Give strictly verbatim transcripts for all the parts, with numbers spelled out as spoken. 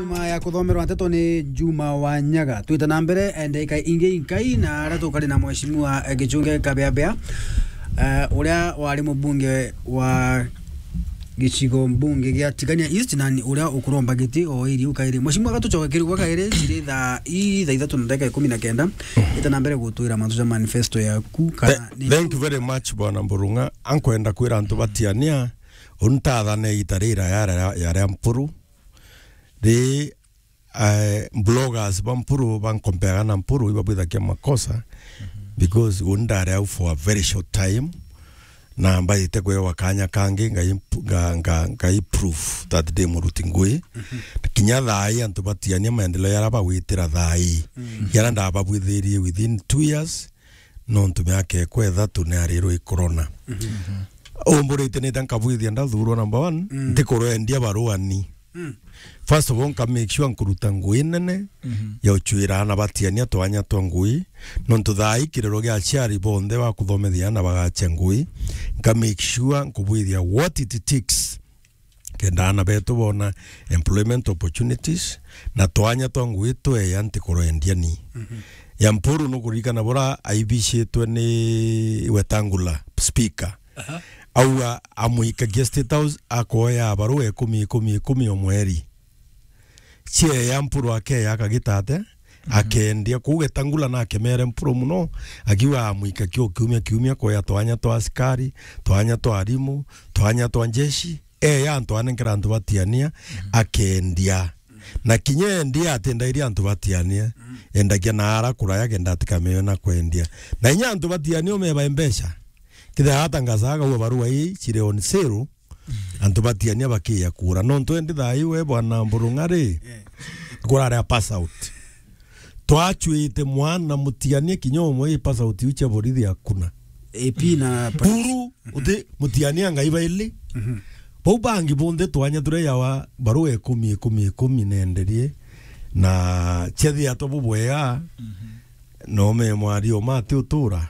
Nyuma ya kuthomerwa nteto ni Juma wa Nyaga, twite na mbere, eh, ndagika ingi inkai na aria tukari na mheshimiwa, eh, Gichunge Kabeabea, eh, uria wari mubunge wa gicigo mbunge gia Tigania East, na ni uria ukuromba giti o iri u kairi. Mheshimiwa, gatucoke kiri gwa kairi, ciri thaa i-, thaa ithatu na ndagika ikumi na kenda. Ita na mbere gutwira mantu ja manifesto yaku, kana Th-, ni thank you very much, Bwana Mburung'a. Ankwenda kwira antu batiania, untathane ita rira ya, ya, ya ria Mpuru. Ri, eh, bloggers ba Mpuru bankompeaga na Mpuru, ibabwithagia makosa, because uni ndari au for a very short time, na mbaite kwewa kanya kangi, ngai mp-, nga, nga, ngai proof that ndi muruti ngui. Kinya thaa ii antu batiania maendeleo yara bagwitira thaa ii. Yara ndababwithirie within two years, nontu miaka ekwa ithatu ni arirwe i corona. Umburite nita nkabwithia ndathurwa number one, ntikurwendia baruani. First of all, nka make sure nkuruta ngui nene ya uchuira ana batiania twanya twa ngui, nontu thaa ii kirero gia aciari bonthe ba kuthomethia ana bagacha ngui, nka make sure nkubwithia what it takes kenda ana betu bona employment opportunities, na twanya twa ngui tweya ntikurwendia ni. Ya Mpuru nukuririkana bura aibicitwe ni Wetangula, speaker. Auga amwikagia State House akoya barua ikumi, ikumi, ikumi o mweri. Cieya Mpuru akeya akagitate, akendia. Kuu Getangula na akemere Mpuru muno, akiuga amwikagia o kiumia kiumia koya twanya twa asikari, twanya twa arimu, twanya twa njeshi. Eya antu anenkera antu batiania, akendia. Na kinya endia atindairia antu batiania, endagia na ara kuraya kenda atikamewe na kwendia. Na inya antu batiania umeba mbeca. Kithira atangaza akauga barua ii ciri on sale, antu batiania bakiya kura. Nontu endi thaa ii we Bwana Mburung'a ri, kuraria pass out. Twachuite mwana mutiania kinya umwe i pass out iu cia borithi akuna. A P na Buru, uti mutiania ngai baili. Bau bangi bonthe twanya turia yawa barua ikumi, ikumi, ikumi nenderie. Na ciathi atwa bubwega, no me mwari o mati utura.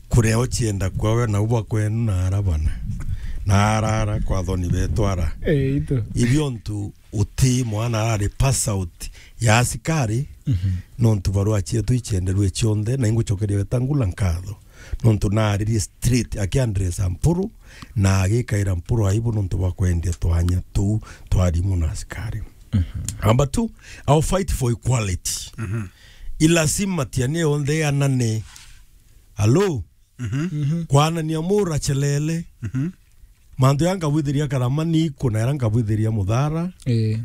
Kuria ucienda kwawe na ubwa kwenu na ara bana. Na ara ara kwa thoni betwara. Eh, ito. Ibio ntu uti mwana arari pass out ya asikari, nontu barua cietu icienderwe cionthe, na ingucokeria Wetangula nkatho. Nontu naaririe straight, akiandresa Mpuru, na agikaira Mpuru aibu nontu bwa kwendia twanya tuu twa arimu na asikari. Number two, I'll fight for equality. Ilasimu matiania yonthe yanane. Hello? Kwanania mura chelele. Mantu ya nkabwithiria Karama, ni iku na yara nkabwithiria Muthara. Eh.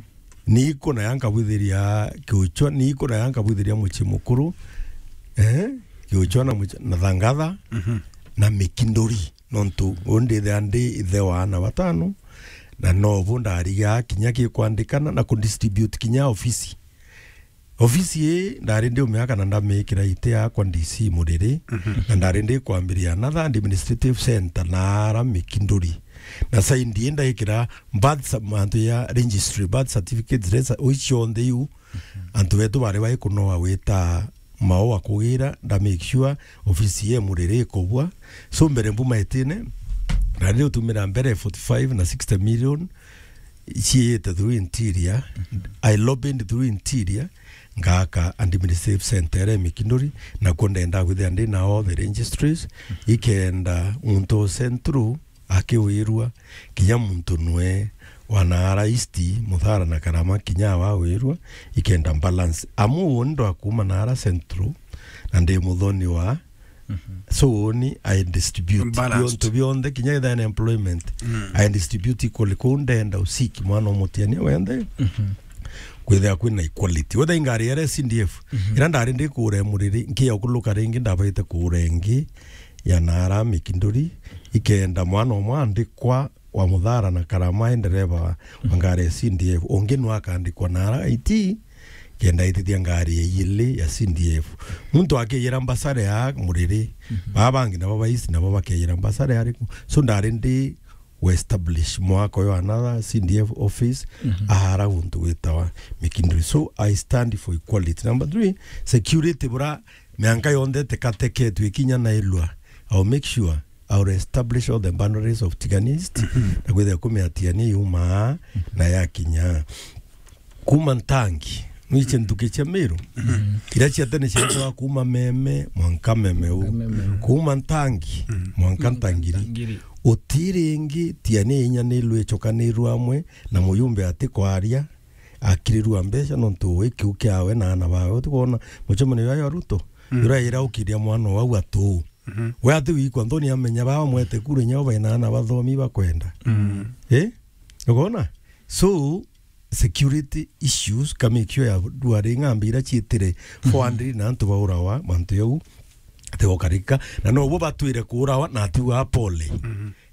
Ni iku na ya nkabwithiria Kiuchwa, ni iku na ya nkabwithiria Mucii Mukuru. Eh? Kiuchwa na Mucii, na Thangatha, na Mikinduri. Nontu undithia ndi ithe wa ana batano, na nobu ndariga kinya gikwandikana na kudistribute kinya ofisi. Ofisi ii ndari ndiumiaka na ndamikira iti yakwa D C Muriri, na ndari ndikwambiria another administrative center na ara Mikinduri. Na saindi ii ndaikira birth cer-, mantu ya registry, birth certificates, resa-, ui cionthe iu, antu betu bari baikunoa wita mao wa kugira, nda make sure ofisi ye Muriri ikubwa. So mbere mbuma itine, ndari ndiutumira mbere forty-five na sixty million, ciite through interior, I lobbied through interior, ngaka administrative center ere Mikinduri, nakuo ndenda kwithia ndi na all the registries, ikenda muntu o central akiwirua, kinya muntu nwe wa Naara East, Muthara na Karama, kinya wawirua, ikenda balance. Amu uni ndwa kuma Naara central, na ndi muthoni wa So uni I distribute biontu bionthe, kinya ithana employment. I distribute equally. Kuu ndenda usiki mwana umutiania wenthe. Kwithira kwina equality. Wetha ingari ya C D F, ira ndari ndikure Muriri, nkia ukuluka ringi, ndabaite kure ingi ya Naara Mikinduri, ikenda mwana umwe andikwa wa Muthara na Karama, e ndereva wa ngari ya C D F. Ungi nwa akandikwa na ara I T, kenda aitithia ngari ya iili ya C D F. Muntu akeyira mbasare ya Muriri, baba bangi nabo ba East nabo bakeyira mbasare ariku. So ndari ndi we establish mwaka uyu another C D F office, ahara guntu gwitawa Mikinduri. So I stand for equality. Number three, security bura mianka yonthe tekateketwe ikinya na ilwa. I'll make sure I'll establish all the boundaries of Tigania East, na kwithira kumia Tigania yumaa na yakinya. Kuma Ntangi, nwiche nthuki cia Meru. Iria cia tene cietagwa kuma Meme mwanka Meme u. Mwanka Meme u. Kuma Ntangi mwanka Ntangiri. Ntangiri. Uti ringi, tiania inya ni rwichokanirwe amwe na muyumbe ati kwaria, akirirua mbeca nontu wi kiu kiawe na ana bawe. Utikwona mucemanio ya Ruto? Ura ira ukiria mwana wau atu. We ati wikwa nthoni amenya baba mwete kura inya bai na ana bathomi bakwenda. Eh? Ukona? So, security issues, ka make sure ya dwari ng'ambi ira ciitire four hundred na antu baurawa, mantu yau, ati gokarika. Na no bo batwire kuurawa, na atiuga pole.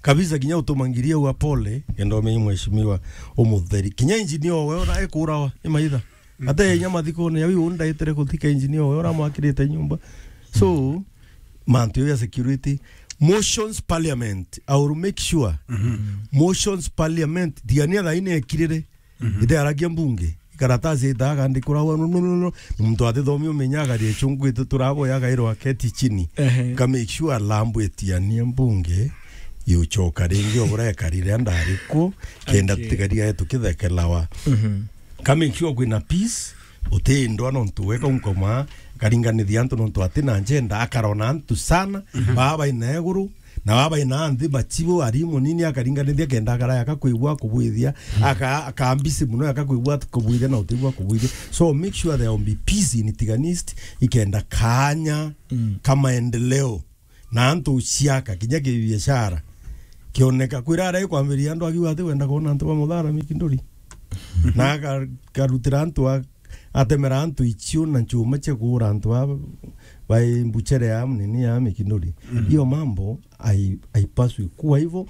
Kabisa, kinya utuma ngiri au pole, kenda umenye mheshimiwa umutheri. Kinya engineer owe ura ekuurawa, imaitha. Ate inya mathikone, yau yu ndaitire kuthika engineer owe ura mwakirite nyumba. So, mantu ya security, motions parliament, I will make sure. Motions parliament, tigania thaini ekirire. Ite aragia mbunge. Ikaratasi ita akandikura wa, no, no, no, no. Muntu atithomi umenya agari echungu itu turabo ya gairo aketi chini. Ehe. Ka make sure alambu etiania mbunge, yuchoka ringi obura ekarire andarikwo, kenda Okay. tutigaria tukithekelawa. Ka make sure kwina peace, utindwa nontu weka unkoma, karinganithia antu nontu atina njenda, akarona antu sana, baba ina eguru, na baba ina nthi, machibu, ari munini, akaringanithia kenda akaraya akakwigua kubwithia, aka-, akambisi muno akakwigua kubwithia na utigua kubwithia. So make sure there will be peace in Tiganist, ikenda kanya ka maendeleo. Na antu uciaka, kinya kibiashara, kioneka, kwira arai kwambiria antu akiuga ati wenda kwona antu ba muthara Mikinduri. Na aka-, akarutira antu a-, atemera antu ichiu na nchuma cia kuura antu ba, bai mbuchere ya nini ya Mikinduri. Hiyo mambo hai-, haipaswi kuwa hivyo.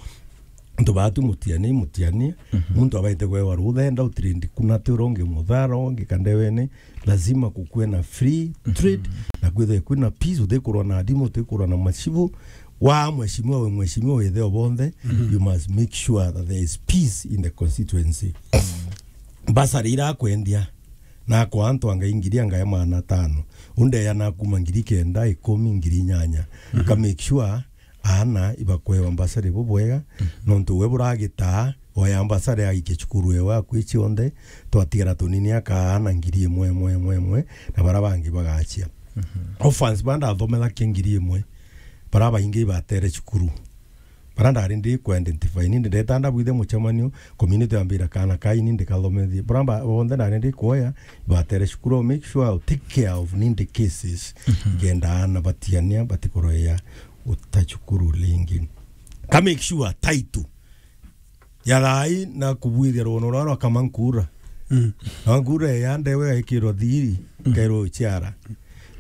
Antu batu mutianie, mutianie. Muntu abaite kwewa rutha, enda utrend kuna ti uronge muthara, onge kandewene, lazima kukue na free trade, na kwithwe kwina peace, utikurwa na adimu, utikurwa na machibu. Wa mheshimiwa we mheshimiwa witheo bonthe, you must make sure that there is peace in the constituency. Basari ira akwendia, na kwa antu anga ingiri anga ya maana tano. Undeya na kuma ngiri kenda, ikumi, ngiri inyanya. Ka make sure aana ibakwewa mbasari bubwega, nontu we buragitaa, oya mbasari aikie cukuru ewe akwi cionthe, twatigara tunini aka aana ngiri imwe, imwe, imwe, imwe, na bara bangi bagachia. Orphans ba ndathomerakia ngiri imwe, bara baingi ibatere cukuru. Bara ndari ndi ku identify, ni ndeta ndabwithe mucemanio, community yambira kana kai ni ndikathomethie. Bara ba-, bonthe ndari ndi kuoya, ibatere cukuru, make sure I take care of needy cases. Ngenda aana batiania, batikoroya guta cukuru ringi. Ka make sure title ya thai na kubwithia rwono rwa rwa Kamankura. Na Nkura ya ndewe aikirwo thiri, kairwo chiara.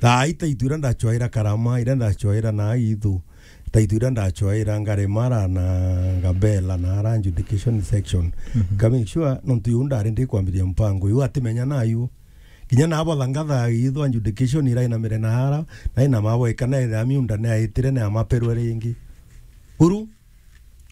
Thai title ira ndachwaira Karama, ira ndachwaira na Ithu. Title ira ndachwaira Ngaremara na Ngabela na ara adjudication section. Ka make sure nontu yu ndari ndi kwambiria mpango yu atimenya nayu. Kinya nabo thangatha Ithu adjudication ira inamire na ara, na ina mabo ikana ira miunda ni aitire ni amaperwe ringi. Uru,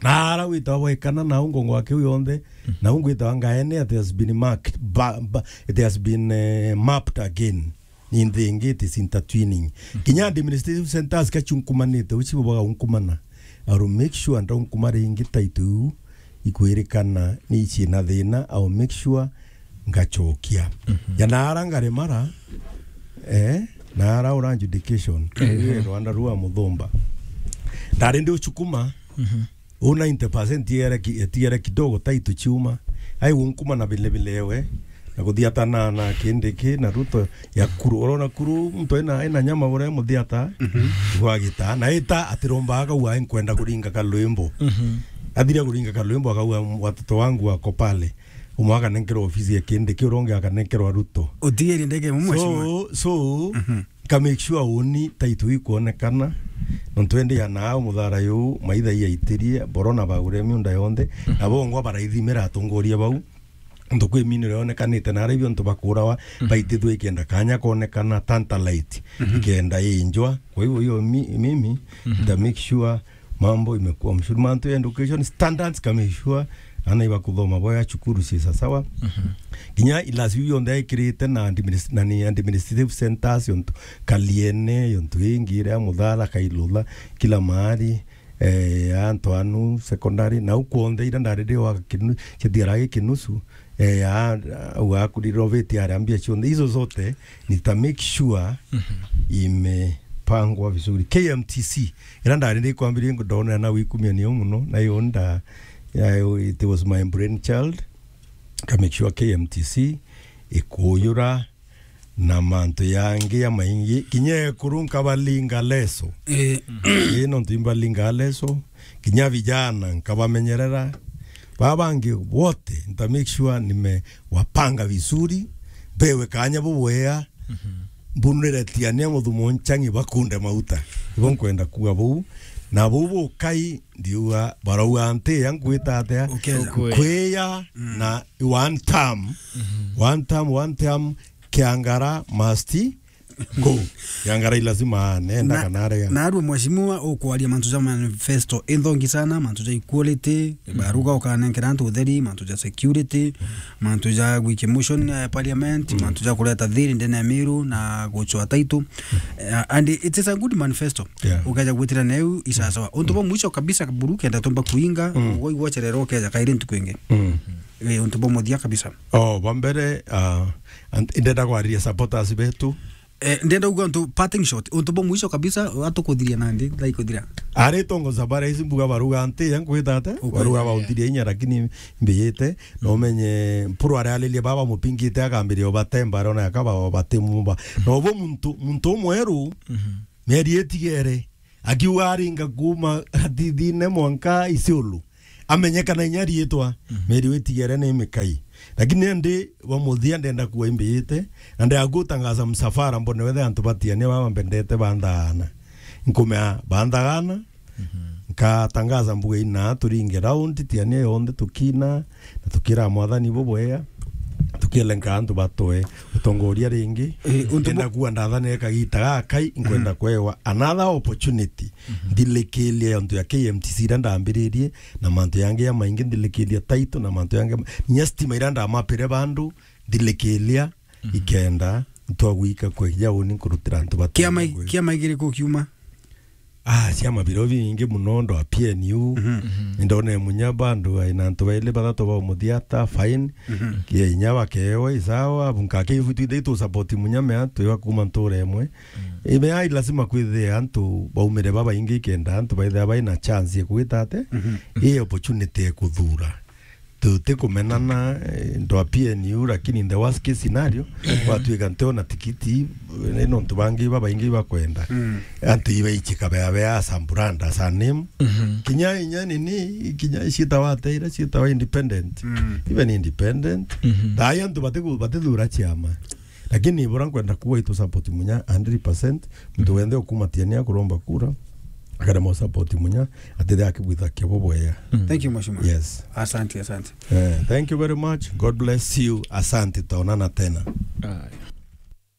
na ara witawa bwekana na ungo ngwa kiu yonthe, na ungo itawa ngaene, it has been marked, ba-, ba-, it has been, eh, mapped again. Ni nthi ingi, it is intertwining. Kinya administrative centers kachunkumanite, uchibo baga unkumana. I will make sure ndaunkumara ingi title iu ikwirikana ni ichina thina, I will make sure ngachokia. Ya naara Ngaremara, eh, naara ura adjudication, eh, Rwanda rua Muthumba. Ndari ndi uchukuma, u ninety percent tigere ki-, tigere kidogo title chiuma. Ai unkuma na vile vile ewe, na kuthiatana na Kindiki na Ruto ya kuru. Urona kuru, muntu ena, ena nyama ure muthiata, gwagita. Na ita atiromba akauga, "Nkwenda kuringa kalwimbo." Athire kuringa kalwimbo, akauga, "Watoto wangu wako pale." Umwe akanenkerwa ofisi ya Kindiki, uria ungi akanenkerwa Ruto. Utigeri ndege mwe mheshimiwa. So, so, ka make sure uni title ikuonekana. Nontu endi ya nao muthara yu, maitha iaitirie, borona bagure miunda yonthe, na bongwa baraithimira atongoria bau. Nontu kwi miniro yonekanite na ara ibio ntu bakurawa, baitithwe ikenda kanya konekana tantalite, ikenda injwa. Kwa hivyo hiyo mi-, mimi, nita make sure mambo imekuwa mzuri. Mantu ya education standards, ka make sure ana ibakuthoma boya cukuru ci sasawa. Kinya ilasi yonthe aikirite na adminis-, na ni administrative centers yontu Kaliene, yontu ingi iria Muthara, Kailula, kila mahali, eh, antu anu secondary, na ukwonde ira ndari ndi wa kinu-, chetiara gikinusu, Eh, ya, au akurenovate aria mbia cionthe. Hizo zote nita make sure imepangwa vizuri. K M T C, ira ndari ndikwambiria ndonera na wikumia niyo muno, na iyo nda, ya, it was my brain child. Ka make sure K M T C ikuyura na mantu yangi ya maingi, kinya ekuru nkabalinga leso. Eh. Eh, nontu imbalinga leso, kinya vijana nkabamenyerera. Baba bangi wote, nta make sure nimewapanga vizuri, bewe kanya bubwea, mbunire tiania muthumo nchang'i bakunde mauta. Ibo nkwenda kuga buu. Na buu bukai, ndiuga, barauga nti ya nkwita atia? Ukeja. Ukwe. Nkwiya na one term, one term, one term, Kiangara must go. Kiangara i lazima nenda na, kana arega. Na arua mheshimiwa ukwaria mantu ja manifesto inthongi sana, mantu ja equality, baruga ukanenkera antu utheri, mantu ja security, mantu ja gwikia motion ya parliament, mantu ja kureta thiri ndene ya Meru na gucwa title. Eh, and it is a good manifesto. Yeah. Ukeja gwitira neu isasawa. Untu bwa mwisho kabisa buru kenda tumba kuinga, mm, ugwe igwochererwo ukeja kairi ntuku ingi. Mm. Eh, untu bwa muthia kabisa. Oh, bwa mbere, ah, and-, ndenda kwariria supporters betu. Eh, ndenda uga untu parting shot, untu bwa mwisho kabisa, atukuthiria nandi, thaa ikuthira. Ari tongo sabara ici mbuga baruga nti, ya nkwita ate? Ukwenda, baruga, yeah, baundiria inya, lakini mbiyite. No menye mpuru aria alirie baba mupingite akambiria ubatemba, arona yakaba batimumba. No bo muntu, muntu umweru, mieri itigere. Akiuga aringa kuuma Atithine mwanka Isiolo. Amenyekana inya riitwa, mhm, meri witigere ni mikai. Lakini ndi wa muthia ndenda kuwa imbiyite, na ndenda gutangaza msafara mbone wethe antu batiania baba mbendete banthagana. Nkumea banthagana, mhm, nkatangaza mbuga ina turinge round tiania yonthe tukina, na tukira Mwathani bubwea, tukielenka antu batoe utongoria ringi. Eh, untu bu- Ndenda kuwa ndathanire kagita gakai, nkwenda, mhm, kwewa another opportunity. Mhm. Ndilikiria antu ya K M T C ira ndambiririe, na mantu yangi ya maingi ndilikiria title, na mantu yangi ma-, nya stima ira ndamapire bandu, ndilikiria, mhm, ikenda ntwagwika kweja uni nkurutira antu batu. Kiama i-, kiama igiri kukiuma? Ah, ciama biro bingi muno, ndo a P N U. Mhm. Mhm. Ndone munya bandu aina antu baili bathatu ba umuthiata, fine. Mhm. Kia inya bakewa, isawa, bunka ke ifutu ithai tu support munya mea, twiwa kuma ntura imwe. Mm. Ime ai lazima kwithia antu baumire babaingi kenda antu baithia baina chance ya kwita ate, mhm, i opportunity ya kuthura. Tutikumenana, eh, ndo a P N U, lakini in the worst case scenario, mhm, gwatuika ntiona tikiti, eh, nontu bangi babaingi bakwenda. Mm. Antu ibaichika bea bea as a brand, as a name. Mhm. Kinya inya nini, kinya ciitawa ateira, ciitawa independent. Mm. Even independent. Mhm. Thai antu batiku-, batithura ciama. Lakini bura nkwenda kuwa itu support munya hundred percent. Muntu wenthe ukumatiania kuromba kura, akarema support munya, atithe akibwitha kibo bwea. Mm. Thank you, Mheshimiwa. Yes. Asante, asante. Eh, thank you very much. God bless you. Asante, taonana tena. Aye.